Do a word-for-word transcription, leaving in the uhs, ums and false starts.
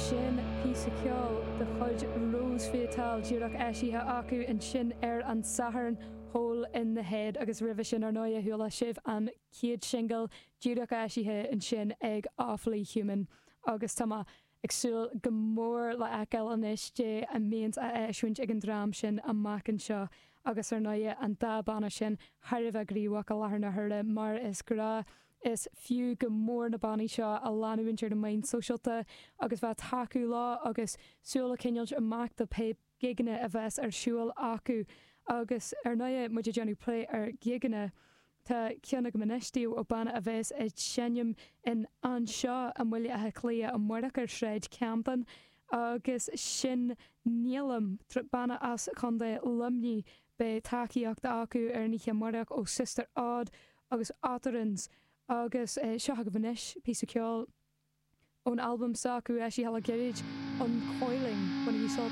Sin píosa ceoil de chuid Rose Fatale díreach eisithe acu ansin ar an Satharn Hole in the Head agus roimhe sin ar ndóigh chuala sibh an chéad singil díreach eisithe ansin ag Awfully Human agus tá mé ag súil go mór le feiceáil anois cad é a bheas á eisiúint ag an dream sin amach anseo agus ar ndóigh an dá banna sin thar a bheith gníomhach i láthair na huaire mar is gnách is fiú go mór na bannaí seo a leanúint ar na meáin sóisialta agus bheith tacú leo agus súil a choinneáil amach do pé gigeanna a bheas ar siúl acu agus ar ndóigh muid ag déanamh plé ar gigeanna Tá ceann agam anois daoibh ó banna a bheas ag seinm in anseo i mBaile Átha Cliath amárach ar Shráid Camden agus sin Nílim banna as Contae Luimnigh beidh tacaíocht acu ar an oíche amárach ó Sister Odd agus Otterans agus eh, seo agaibh anois píosa ceoil ón albam s'acu eisithe le gairid Uncoiling bainigí sult